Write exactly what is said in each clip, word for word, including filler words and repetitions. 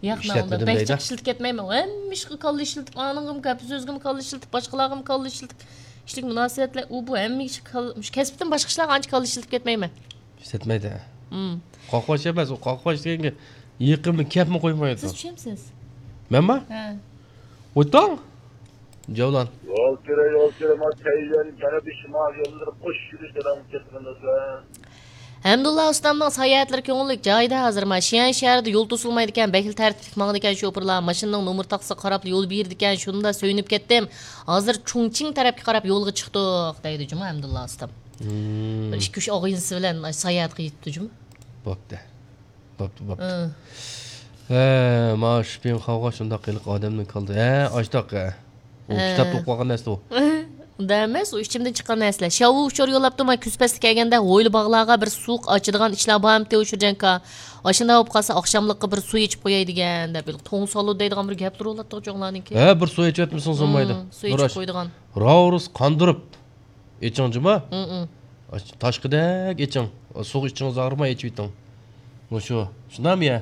ياق، مەن ئۇنداق ئىشلەتمىدىم بەك دەيدۇ. جىق ئىشلىتىپ كەتمەيمەن. ھەممە ئىشقا كاللا ئىشلىتىپ، ئانىڭغىمۇ گەپ سۆزگىمۇ كاللا ئىشلىتىپ، باشقىلارغىمۇ كاللا ئىشلىتىپ، ئىشلىك مۇناسىۋەتلەر، ئۇ بۇ ھەممە ئىشقا كاللا، مۇشۇ كەسىپتىن باشقا ئىشلارغا ئانچە كاللا ئىشلىتىپ كەتمەيمەن. ئىشلەتمەيدۇ. مم. قاقباش ئەمەس، ئۇ قاقباش دېگەنگە يېقىنمۇ كەپمۇ قويمايدۇ. سىز چۈشەمسىز؟ مەنما؟ ھە. ئويتاڭ. جاۋلان. يول كىرە، يول كىرە، ما تەييەن جەنۇبىي شىمال يوللىرى قوش يۈرۈش دەۋام كەتمەكتە. ھەمدۇللا ئۇستامنىڭ ساياھەتلىرى كۆڭۈللۈك جايىدا ھازىر، ما شيەن شەھىرىدە يول توسۇلمايدىكەن، بەكلا تەرتىپلىك ماڭىدىكەن شوپۇرلار، ماشىنىنىڭ نومۇر تاخسىسىغا قاراپلا يول بېرىدىكەن، شۇندا سۆيۈنۈپ كەتتىم. ھازىر چۇڭچىڭ تەرەپكە قاراپ يولغا چىقتۇق، دەيدۇ جۇمۇ ھەمدۇللا ئۇستام. مم. بىر ئىككى ئۈچ ئاغىنىسى بىلەن ساياھەتكە يېتىپتۇ جۇمۇ. بوپتۇ. بوپتۇ، بوپتۇ. ھە. ھە، مانا شۇ پىڭ خاۋغا شۇنداق قىلىق ئادەمنى كالدى. ھە، ئاشتاق، ھە. ئۇ ھە. كىتابتا ئوقۇپ قالغان نەرسە ئۇ. ئۇنداق ئەمەس، ئۇ ئىچىمدىن چىققان نەرسىلەر. شياۋۋۇ ئۇچۇر يوللاپتۇ، مانا كۈز پەسلى كەلگەندە ھويلا باغلارغا بىر سۇ ئاچىدىغان ئىشلار بارمىتى، ئۇ شۇجەنكا؟ ئاشۇنداق بولۇپ قالسا ئاخشاملىققا بىر سۇ ئېچىپ قوياي دېگەن دەپ، توڭ سالۇ دەيدىغان بىر گەپلىرى بولاتتۇق چوڭلارنىڭكى. ھە، بىر سۇ ئېچىۋەتمىسىڭىز بولمايدۇ. مم، سۇ ئېچىپ قويىدىغان. راۋرۇس قاندۇرۇپ ئېچىڭ جۇما. مم، مم. ئاش-، تاشقىدەك ئېچىڭ. سۇغا ئىچىڭىز ئاغرىماي ئېچىۋېتىڭ. مۇشۇ. شۇنداقمۇ يا؟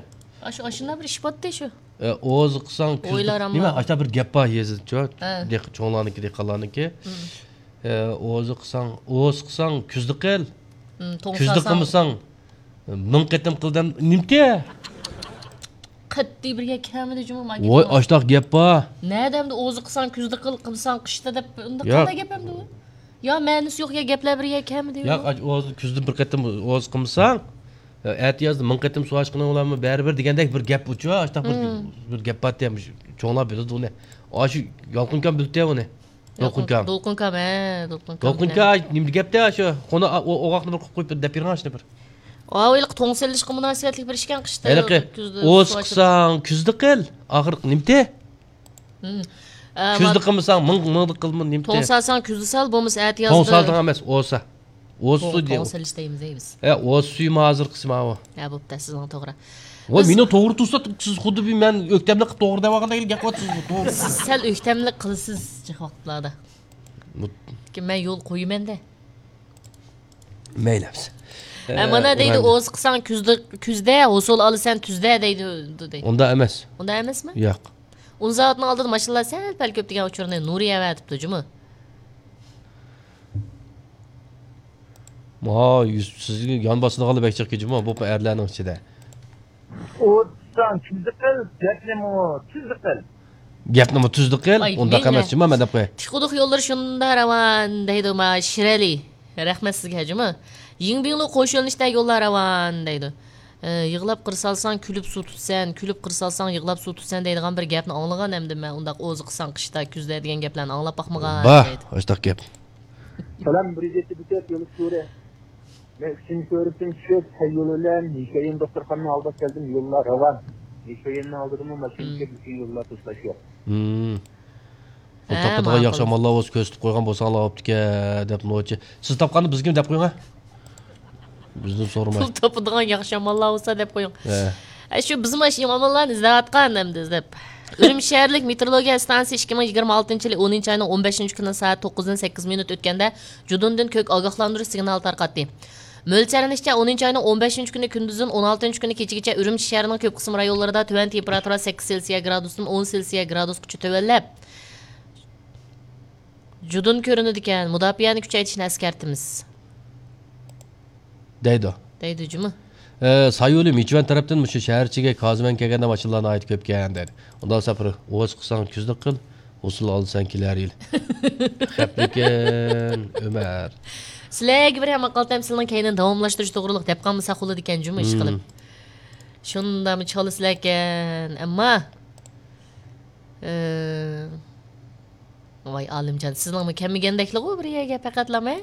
ئاشۇ، ئاشۇنداق بىر ئىش بارتى شۇ. ئە، ئوزۇقساڭ كۈزدە. ئويلار ئەمما. نېمە، ئاشۇنداق بىر گەپ بار يېزىچۇ. ھە. دېھ-، چوڭلارنىڭكى، دېھقانلارنىڭكى. مم. ئە، ئوزۇقساڭ، ئوزۇقساڭ كۈزدە قىل. مم، توڭ كۈزدە سالساڭ. قىلمىساڭ، مىڭ قېتىم قىل دەم-، نېمىتى؟ قەتئىي بىر يەر كەلمىدى جۇمۇ ما ۋاي، گېپىڭ. ئاشۇنداق گەپ بار. نەدە ئەمدى ئوزۇقساڭ كۈزدە قىل، قىلساڭ قىشتا دەپ، ئۇنداق ياق. قانداق گەپ ئەمدى ئۇ؟ يا مەنىسى يوق يا گەپلەر بىر يەر كەلمىدى. ياق، ئاج-، ئوزۇ-، كۈزدە بىر قېتىم ئوزۇق قىلمىساڭ، ئەتىيازدا مىڭ قېتىم سۇ ئاچقىنىڭ بىلەنمۇ بەرىبىر دېگەندەك بىر گەپ ئۇچۇ، ئاشۇنداق بىر، مم. بىر گەپ بارتى، چوڭلار بىلىدۇ ئۇنى. ئاشۇ يالقۇنكام بىلدى ئۇنى. دولقۇنكام. دولقۇنكام، ھە، دولقۇنكام. دولقۇنكام، نېمە گەپتە شۇ؟ قونا، ئو-، ئوغاقنى بىر قويۇپ دەپ بېرىڭ شۇنى بىر. ھاۋا ھېلىقى توڭ سېلىشقا مۇناسىۋەتلىك بىر ئىكەن قىشتا. ھېلىقى كۈزدە سۇ ئاچىدۇ. ئوزۇقساڭ كۈزدە قىل. ئاخىرقى نېمىتى؟ مم. ئە، كۈزدە قىلمىساڭ، مىڭ، مىڭدا قىلما، نېمىتى؟ توڭ سالساڭ كۈزدە سال، بولمىسا ئەتىيازدا. توڭ سالدىڭ ئەمەس، ئوزۇقسا. ئوزۇقسۇ توڭ، دېيەو. توڭ سېلىش دەيمىز، دەيمىز. ھە، ئوزۇقسۇ ھازىرقىسى ماۋۇ. ھە، بوپتۇ، سىزنىڭ توغرا. ۋاي، بىز مېنىڭ توغرا تۇرسا، سىز خۇددى بىر مەن ئۆكتەملىك قىلىپ توغرا دەۋالغاندەك گەپ قىلىۋاتىسىز، توغرا. سىز سەل ئۆكتەملىك قىلىسىز جىق ۋاقىتلاردا. بۇ لېكىن مەن يول قويىمەن-دە. مەيلى، ئەمىسە. ھە، مانا ئە، دەيدۇ، ئۇران. ئوزۇقساڭ كۈزدە، كۈزدە، ھوسۇل ئالىسەن تۈزدە دەيدۇ، دەيدۇ. ئۇنداق ئەمەس. ئۇنداق ئەمەسمۇ؟ ياق. ئۇن زاۋۇتىنىڭ ئالدىدا ماشىنىلار سەل پەل كۆپ دېگەن ئۇچۇرنى نۇرى ئەۋەتىپتۇ جۇمۇ. ھا، يۈز-، سىزگە يان باسىدىغانلار بەك جىق جۇمۇ، بۇ ئەرلەرنىڭ ئىچىدە. ئوزۇقساڭ كۈزدە قىل، گەپنىمۇ تۈزدە قىل. گەپنىمۇ تۈزدە قىل، ئاي، ئۇنداق مەيلى. ئەمەس جۇمۇ، مەن دەپ قوياي. تىخ-، قۇدۇق يوللىرى شۇنداق راۋان دەيدۇ، ما شىرئەلى. رەھمەت سىزگە جۇمۇ. يىڭبىڭلۇ قوش يۆنىلىشتە يوللار راۋان دەيدۇ. ئە، يىغلاپ قىر سالساڭ، كۈلۈپ سۇ تۇتىسەن، كۈلۈپ قىر سالساڭ، يىغلاپ سۇ تۇتىسەن دەيدىغان بىر گەپنى ئاڭلىغان ئەمدى مەن، ئۇنداق ئوزۇقساڭ قىشتا، كۈزدە دېگەن گەپلەرنى ئاڭلاپ باقمىغان بار، دەيدۇ. ئاشتاق گەپ. سالام، بىر يۈز يەتتە بېكەت يولى سۈرە. مەن ئۈچىنچى كۆرۈكتىن چۈشۈپ، سەي يولى بىلەن ھېكەيىن دوختۇرخانىنى ئالداپ كەلدىم، يوللار راۋان. ھېكەيىننى ئالدىدىمۇ ماشىنا مم. كېلىپ، يوللار توسۇلۇش يوق. مم. پۇل ھە، تاپىدىغان ماقۇل. ياخشى ئاماللار بولسا كۆرسىتىپ قويغان بولساڭلار بوپتىكەن، دەپ نوچى. سىز تاپقاننى بىزگىمۇ دەپ قويۇڭ، ھە؟ بىزدىن سورىماي. پۇل تاپىدىغان ياخشى ئاماللار بولسا دەپ قويۇڭ. ھە. ھە، شۇ بىزمۇ ئاشۇ ئاماللارنى ئىزدەۋاتقان ئەمدى ئىزدەپ. ئۈرۈمچى شەھەرلىك مېتېئورولوگىيە ئىستانسىسى ئىككى مىڭ يىگىرمە ئالتىنچى يىلى ئونىنچى ئاينىڭ ئون بەشىنچى كۈنى سائەت توققۇزدىن سەككىز مىنۇت ئۆتكەندە جۇدۇندىن كۆك ئاگاھلاندۇرۇش سىگنالى تارقاتتى. مۆلچەرلىنىشىچە، ئونىنچى ئاينىڭ ئون بەشىنچى كۈنى كۈندۈزدىن ئون ئالتىنچى كۈنى كېچىگىچە ئۈرۈمچى شەھىرىنىڭ كۆپ قىسىم رايونلىرىدا تۆۋەن تېمپېراتۇرا سەككىز سېلسىيە گرادۇستىن ئون سېلسىيە گرادۇسقىچە تۆۋەنلەپ، جۇدۇن كۆرۈنىدىكەن، مۇداپىئەنى كۈچەيتىشنى ئەسكەرتىمىز. دەيدۇ. دەيدۇ جۇمۇ. ئە، سايولى مىچۈەن تەرەپتىن مۇشۇ شەھەر ئىچىگە كازىمەن كەلگەندە ماشىنىلار ناھايىتى كۆپكەن دەيدۇ. ئۇنداق سەپىرى ئوز قىلساڭ كۈزدە قىل، ھوسۇل ئالىسەن كېلەر يىل. خەپلىكەن، ئۆمەر. سىلەرگە بىر ھەممە قالتام سىلىنىڭ كەينىنى داۋاملاشتۇرۇش توغرۇلۇق دەپ قالمىساق بولىدىكەن جۇمۇ ئىش قىلىپ. شۇنداقمۇ چالىسىلەركەن، ئەمما، ئە، ۋاي ئالىمجان، سىزنىڭمۇ كەلمىگەندەكلىغۇ بىر يەرگە پەقەتلام، ھە؟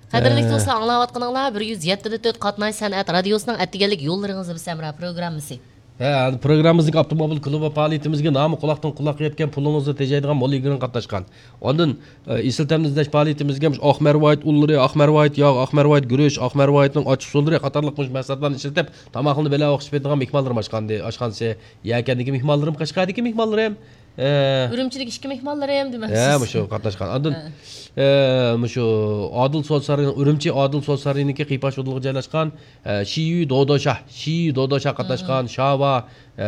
قەدىرلىك ئە. دوستلار، ئاڭلاۋاتقىنىڭلار بىر يۈز يەتتە دە تۆت قاتناش سەنئەت رادىيوسىنىڭ ئەتىگەنلىك يوللىرىڭىزدا بىز ھەمراھ پروگراممىسى. ھە، پروگراممىمىزنىڭ ئاپتوموبىل كلۇبى پائالىيىتىمىزگە نامى قۇلاقتىن قۇلاققا يەتكەن، پۇلىڭىزنى تېجەيدىغان مول يىگىرمە قاتناشقان. ئاندىن، ئە، ئېسىل تەمنى ئىزدەش پائالىيىتىمىزگە ئاق مەرۋايىت ئۇنلىرى، ئاق مەرۋايىت ياغ، ئاق مەرۋايىت گۈرۈچ، ئاق مەرۋايىتنىڭ ئاچچىق سۇلىرى قاتارلىق مۇشۇ مەھسۇلاتلارنى ئىشلىتىپ، تاماقنى بىللە ئوخشىشىپ يەيدىغان مېھمانلىرىم ئاشخانىدى-، ئاشخانىسى، يەكەندىكى مېھمانلىرىم، قەشقەردىكى مېھمانلىرىم، ئە، ئۈرۈمچىدىكى ئىككى مېھمانلىرىم دېمەمسىز؟ ھە، مۇشۇ قاتناشقان. ئاندىن، ھە. ئە، مۇشۇ ئادىل سودا سارىيى، ئۈرۈمچى ئادىل سودا سارىيىنىڭكى قىيپاش ئۇدۇلىغا جايلاشقان، ئە، شىيۈ دودوشا، شىيۈ دودوشا قاتناشقان، ھە، ھە. شاۋا، ئە،